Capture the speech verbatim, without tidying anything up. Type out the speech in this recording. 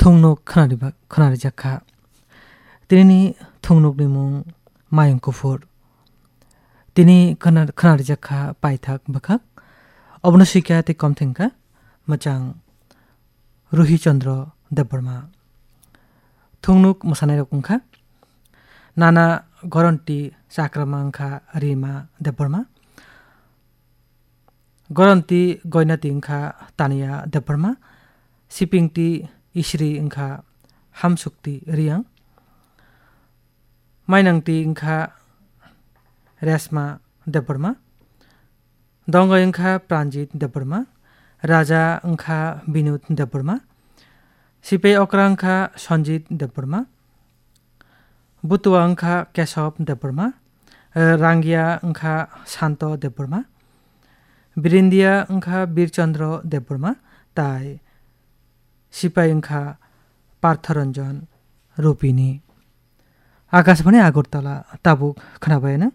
Thungnuk khwnariba-, khwnarijak kha. Tinini thungnukni mung Mayung Kuphur. Tini khwna-, khwnarijak kha paithak bwkhak. Obono swikha tei kom thengkha mwchang Ruhi Chandra Debbarma. Thungnuk mwsanairok wngkha Nana Goronti Chakrama wngkha Rima Debbarma. Goronti Goinati wngkha Tania Debbarma, Sipingti Isri wngkha Hamsukti Riang, Mainangti wngkha Resma Debbarma, Dongoi wngkha Pranjit Debbarma, Raja wngkha Binod Debbarma, Sipai Okra wngkha Sanjit Debbarma, Butua wngkha Kesab Debbarma, eh, Rangia wngkha Santo Debbarma, Birindia wngkha Birchandra Debbarma, tai Sipai wngkha Partharanjan Rupini. Akashbani Agartala, tabuk khwnabaino